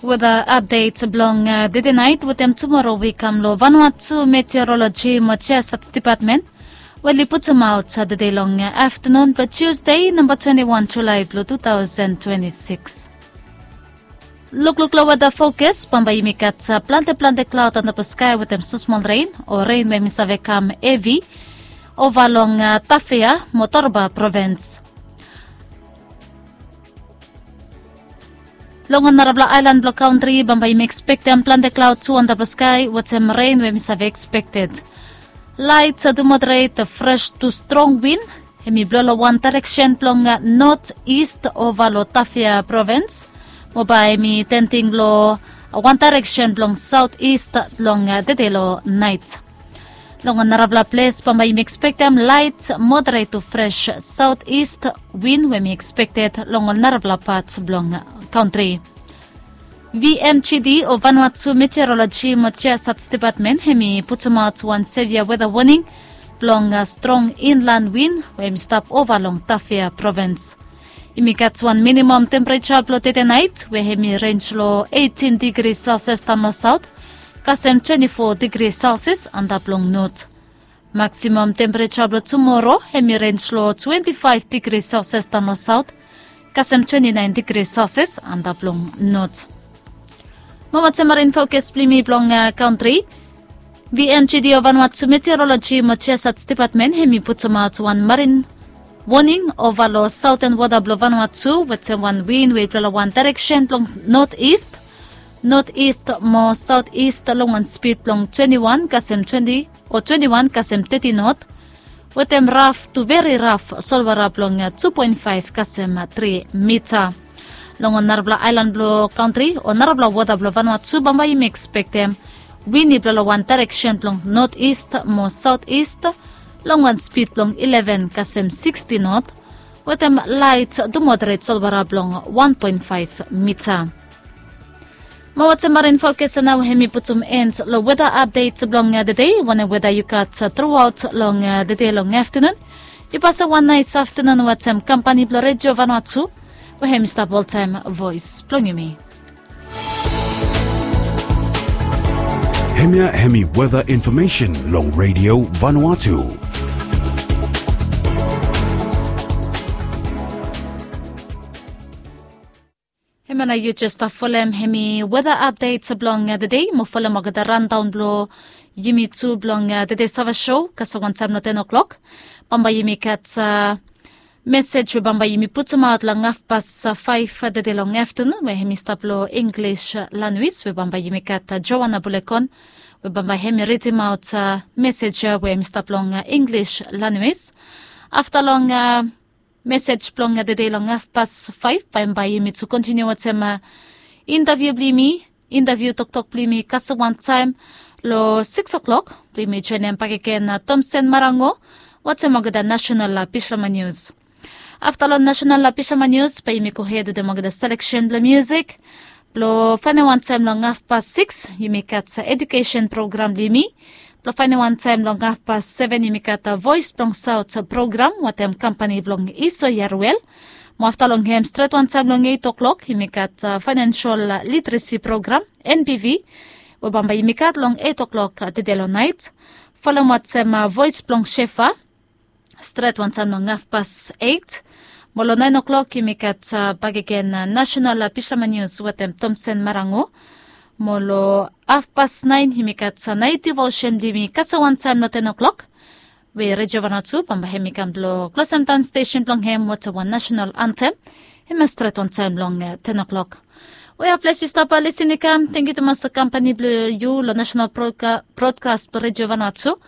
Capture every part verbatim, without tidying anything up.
Weda apdet blong dede nait wetem tumoro we i kam long Vanuatu Meteoroloji mo Jiasat Depatmen, we oli putumaot dede long aftanun blong Tusde namba twenti wan Julae blong tu taosen twenti sikis. Lukluk long weda fokas, bambae yumi gat plante plante klaod antap long skae wetem smosmol ren o ren we hemi save kam hevi ova long Tafea mo Torba provins. Long ol narafala aelan blong kantri bambae yumi ekspektem plante klaod tu antap long skae wetem ren we hemi save ekspekted. Laet tu moderet fres tu strong win hemi blou long wan daereksen blong not ist ova long Tafea provins, mo bae hemi tenting long wan daereksen blong saot ist long dede long naet. Long ol narafala ples bambae yumi ekspektem laet moderet tu fres saot ist win we hemi ekspekted long ol narafala pat blong kantri. VMGD o Vanuatu Meteoroloji mo Jiasat Depatmen hemi putumaot wan sevia weda woning blong strong inlan win we hemi stap ova long Tafea provins. Yumi gat wan minimam tempereja blong dede naet we hemi renj long eitin digri Celsius daon long saot, kasem twenti fo digri Celsius antap long not. Maksimam tempereja blong tumoro hemi renj long twenti faef digri Celsius daon long saot, kasem twenti naen digri Celsius antap long not. Mo wetem marin fokas blong yumi blong kantri, VMGD o Vanuatu Meteoroloji mo Jiasat Depatmen hemi putumaot wan marin woning ova long saoten wota blong Vanuatu wetem wan win we i blou long wan daereksen blong not ist, not ist mo saot ist long wan spid blong twenti wan kasem twenti o twenti wan kasem teti not, wetem raf tu veri raf solwara blong tu poen faef kasem tri mita. Long ol narafala aelan blong kantri o narafala wota blong Vanuatu bambae yumi ekspektem win i blou long wan daereksen blong not ist mo saot ist long wan spid blong ileven kasem sikisti not, wetem laet tu moderet solwara blong wan poen faef mita. Mo wetem marin fokas ya nao hemi putum en long weda apdet blong dede. Wanem weda yu gat truaot long dede long aftanun, yu pasem wan naes aftanun wetem kampani blong Redio Vanuatu we hemi stap oltaem voes blong yumi. Hemia hemi weda infomesen long Redio Vanuatu. Hemia nao yu jes stap folem hemi weda apdet blong dede mo folem olgeta randaon blong yumi tu blong dede save sou kasem wantaem long ten o'clock. Bambae yumi gat mesej we bambae yumi putumaot long hafpas faef dede long aftanun we hemi stap long Inglis lanwis we bambae yumi gat Joana Bulekon we bambae hemi ridimaot mesej ya we hemi stap long Inglis lanwis. Afta long mesej blong dede long hafpas faef bambae yumi tu kontiniu wetem intaviu blong yumi, intaviu toktok blong yumi kasem wantaem long sikis o'clock blong yumi joenem bakegen Tomsen Marango wetem olgeta nasenal Pisama Nius. Afta long nasenal Pisama Nius bae yumi gohed wetem olgeta seleksen blong musik blong faenem wantaem long hafpas sikis yumi gat edukesen program blong yumi. Blong faenem wantaem long hafpas seven yumi gat voes blong saot program wetem kampani blong Iso Yaruel. Mo afta long hem stret wantaem long eit o'clock yumi gat faenensol literesi program, NBV, we bambae yumi gat long eit o'clock dede long naet. Folem wantaem voes blong Shefa stret wantaem long hafpas eit. Mo long naen o'clock yumi gat bakegen nasenal Pisama Nius wetem Tomsen Marango. Mo long hafpas naen yumi gat naet divosen blong yumi kasem wantaem long ten o'clock we Redio Vanuatu bambae hemi kam blong klosemdaon stesen blong hem wetem wan nasenal antem. Hemia stret wantaem long ten o'clock. We ya ples yu stap lisin i kam, tangkiu tumas long kampani blong yu long nasenal brodkas blong Redio Vanuatu.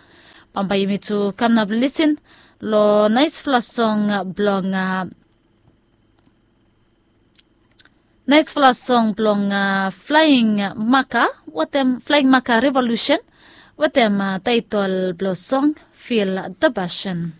Bambae yumi tu kam nao blong lisin long naesfala song blong naesfala song blong Flaing Maka wetem Flaing Maka Revolusen wetem taetol blong song Feel the Passion.